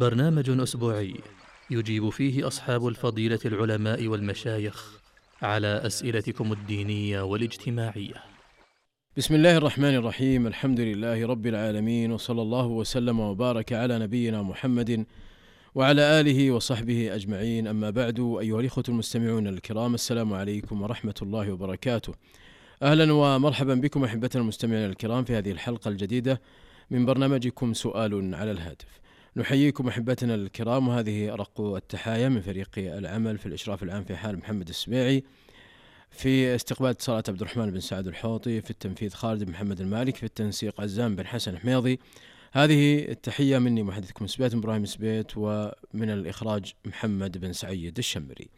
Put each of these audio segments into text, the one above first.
برنامج أسبوعي يجيب فيه أصحاب الفضيلة العلماء والمشايخ على أسئلتكم الدينية والاجتماعية. بسم الله الرحمن الرحيم. الحمد لله رب العالمين، وصلى الله وسلم وبارك على نبينا محمد وعلى آله وصحبه أجمعين. أما بعد، أيها الإخوة المستمعون الكرام، السلام عليكم ورحمة الله وبركاته. أهلا ومرحبا بكم أحبتنا المستمعين الكرام في هذه الحلقة الجديدة من برنامجكم سؤال على الهاتف. نحييكم أحبتنا الكرام، وهذه أرق التحايا من فريق العمل في الإشراف العام في حال محمد السميعي، في استقبال اتصالات عبد الرحمن بن سعد الحوطي، في التنفيذ خالد بن محمد المالك، في التنسيق عزام بن حسن حميضي. هذه التحية مني محدثكم سبيت إبراهيم سبيت، ومن الإخراج محمد بن سعيد الشمري.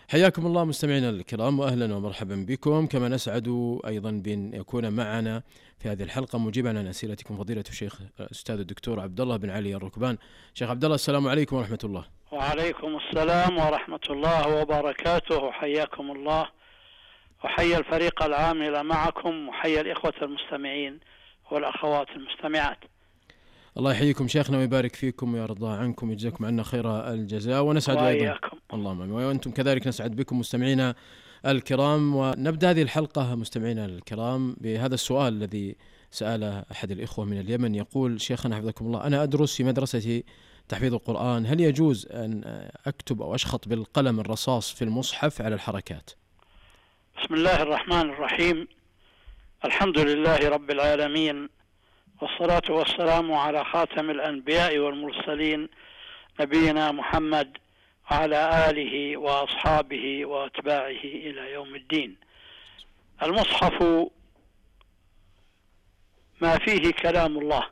حياكم الله مستمعينا الكرام، وأهلا ومرحبا بكم. كما نسعد أيضا بأن يكون معنا في هذه الحلقة مجيبا عن أسئلتكم فضيلة الشيخ الأستاذ الدكتور عبد الله بن علي الركبان. شيخ عبد الله، السلام عليكم ورحمة الله. وعليكم السلام ورحمة الله وبركاته. حياكم الله، وحيا الفريق العامل معكم، وحيا الإخوة المستمعين والأخوات المستمعات. الله يحييكم شيخنا ويبارك فيكم ويرضى عنكم ويجزاكم عنا خير الجزاء، ونسعد أيضا اللهم آمين، وأنتم كذلك نسعد بكم مستمعينا الكرام. ونبدأ هذه الحلقة مستمعينا الكرام بهذا السؤال الذي سأله أحد الإخوة من اليمن. يقول: شيخنا حفظكم الله، أنا أدرس في مدرسة تحفيظ القرآن، هل يجوز أن أكتب أو أشخط بالقلم الرصاص في المصحف على الحركات؟ بسم الله الرحمن الرحيم. الحمد لله رب العالمين، والصلاة والسلام على خاتم الأنبياء والمرسلين نبينا محمد وعلى آله وأصحابه وأتباعه إلى يوم الدين. المصحف ما فيه كلام الله،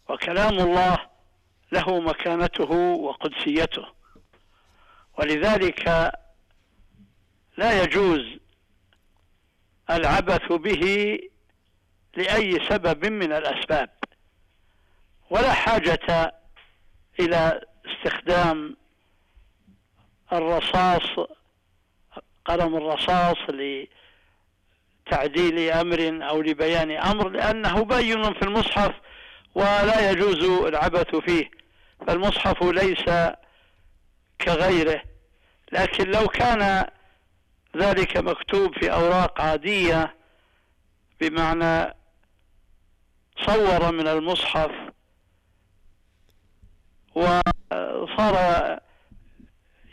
وكلام الله له مكانته وقدسيته، ولذلك لا يجوز العبث به لأي سبب من الأسباب، ولا حاجة إلى استخدام الرصاص، قلم الرصاص، لتعديل أمر أو لبيان أمر، لأنه بين في المصحف ولا يجوز العبث فيه. فالمصحف ليس كغيره، لكن لو كان ذلك مكتوب في أوراق عادية، بمعنى صور من المصحف وصار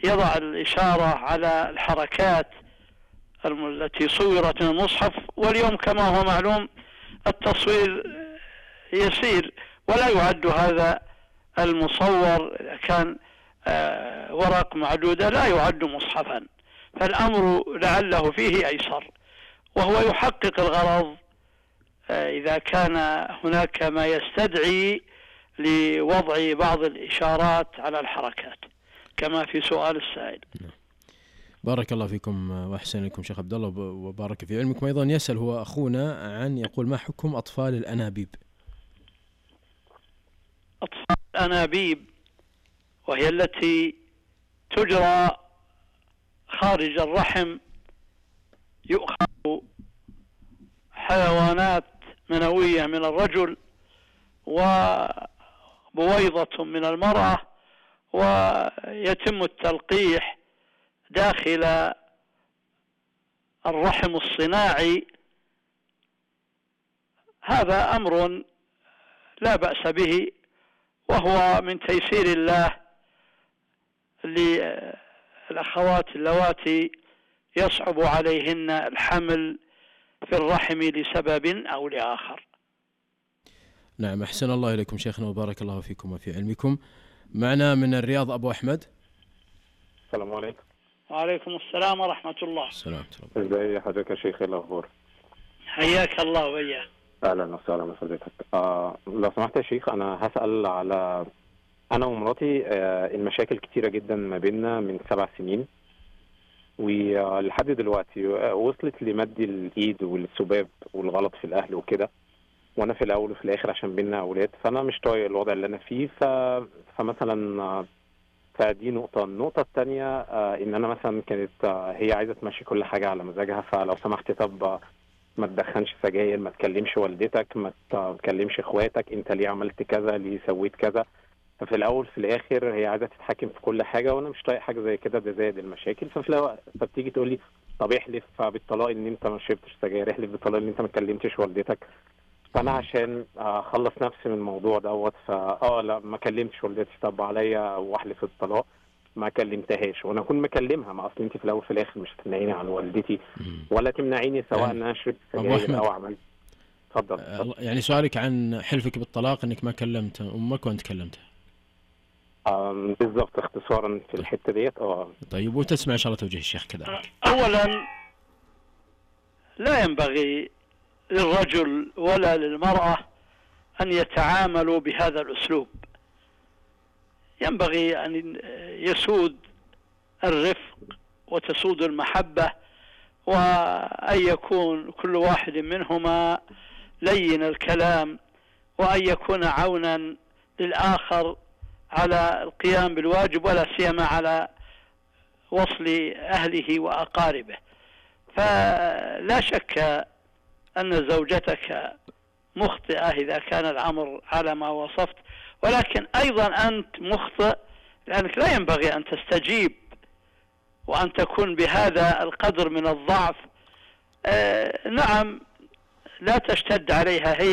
يضع الإشارة على الحركات التي صورت من المصحف، واليوم كما هو معلوم التصوير يسير ولا يعد هذا المصور، إذا كان ورق معدودة لا يعد مصحفا، فالأمر لعله فيه أيسر، وهو يحقق الغرض إذا كان هناك ما يستدعي لوضع بعض الإشارات على الحركات كما في سؤال السائل. بارك الله فيكم وأحسن لكم شيخ عبد الله وبارك في علمكم. أيضا يسأل هو أخونا عن، يقول: ما حكم أطفال الأنابيب؟ أطفال الأنابيب وهي التي تجرى خارج الرحم، يؤخذ حيوانات منوية من الرجل وبويضة من المرأة، ويتم التلقيح داخل الرحم الصناعي. هذا أمر لا بأس به، وهو من تيسير الله للأخوات اللواتي يصعب عليهن الحمل في الرحم لسبب أو لآخر. نعم، أحسن الله إليكم شيخنا وبارك الله فيكم وفي علمكم. معنا من الرياض أبو أحمد. السلام عليكم. وعليكم السلام ورحمة الله. السلام. ازي حضرتك يا شيخ؟ الأخبار؟ حياك الله وإياه. أهلا وسهلا بحضرتك. لو سمحت يا شيخ، أنا هسأل على أنا ومراتي المشاكل كتيرة جدا ما بيننا من 7 سنين، ولحد دلوقتي وصلت لمد الإيد والسباب والغلط في الأهل وكده، وأنا في الأول وفي الآخر عشان بيننا أولاد، فأنا مش طايق الوضع اللي أنا فيه. فمثلا فدي نقطة. النقطة الثانية إن أنا مثلا كانت هي عايزة تمشي كل حاجة على مزاجها، فلو سمحت طب ما تدخنش سجاير، ما تكلمش والدتك، ما تكلمش اخواتك، انت ليه عملت كذا، ليه سويت كذا. ففي الاول في الاخر هي عايزه تتحكم في كل حاجه، وانا مش طايق حاجه زي كده، ده زائد المشاكل. فبتيجي تقول لي طب احلف بالطلاق ان انت ما شربتش سجاير، احلف بالطلاق ان انت ما كلمتش والدتك. فانا عشان اخلص نفسي من الموضوع دوت لا ما كلمتش والدتي، طب عليا واحلف بالطلاق ما كلمتهاش وانا اكون مكلمها. ما اصل انت في الاول في الاخر مش هتمنعيني عن والدتي ولا تمنعيني سواء ان انا شربت سجاير او عملت. اتفضل. يعني سؤالك عن حلفك بالطلاق انك ما كلمت امك وانت كلمتها. بالضبط، اختصارا في الحته ديت. طيب، وتسمع ان شاء الله توجيه الشيخ كذلك. اولا لا ينبغي للرجل ولا للمرأة ان يتعاملوا بهذا الاسلوب. ينبغي ان يسود الرفق وتسود المحبة، وأن يكون كل واحد منهما لين الكلام، وأن يكون عونا للآخر على القيام بالواجب، ولا سيما على وصل أهله وأقاربه. فلا شك أن زوجتك مخطئة إذا كان الأمر على ما وصفت، ولكن أيضا أنت مخطئ لأنك لا ينبغي أن تستجيب وأن تكون بهذا القدر من الضعف. نعم، لا تشتد عليها هي،